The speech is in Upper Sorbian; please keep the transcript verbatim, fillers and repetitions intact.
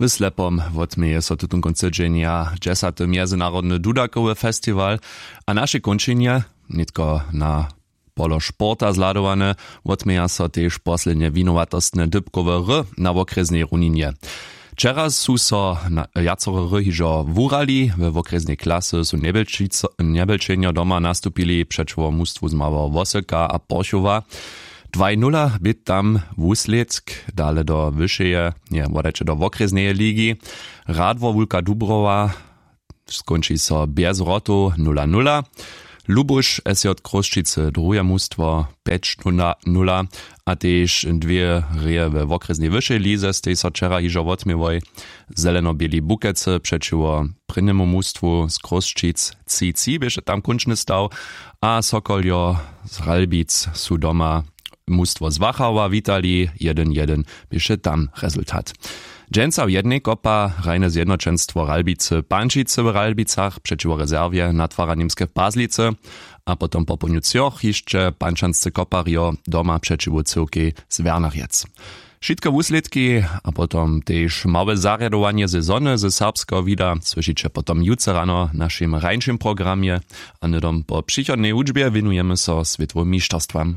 W slepom wotměje so tutón kónc tydźenja dźesaty mjezynarodny dudakowy festiwal. A naše kónčenje nětko na polo sporta zhladowane. Wotměja so tež poslednje winowatostne dypkowe ry na wokrjesnej runinje. Wčera su so wjacore ry hižo wurali. We wokrjesnej klasy su njebelčenjo doma nastupili přećiwo mustwu z małeho wosyka a porchowa. Dwaj nula bě tam wuslědk. Dale do wyšeje, nje wodajće do wokrjesneje ligi. Radwor wulka dubrowa skónči so bjez wrotow nula nula. Lubuš sj chrósćicy druhe mustwo pjeć nula. A tež dwě reje we wokrjesnej wyšej lize stej so wčera hižo wotměłoj. Zelenoběli bukecy přećiwo prěnjemu mustwu z chrósćic tři tři běše tam kónčny staw. A sokoljo z ralbic su doma mustwo z wachała witali. Jedyn jedyn běše tam rezultat. Dźensa w jednej kopa hrajne zjednoćenstwo ralbicy pančicy w ralbicach přećiwo rezerwje natwara němske w pazlicy. A potom po połdnju třoch hišće pančansce koparjo doma přećiwo cyłkej z wernarjec. Wšitke wuslědki a potom tež małe zarjadowanje sezony ze serbskeho wida słyšiće potom jutře rano w našim rańšim programje. A hnydom po přichodnej hudźbje wěnujemy so swětowym mišterstwam.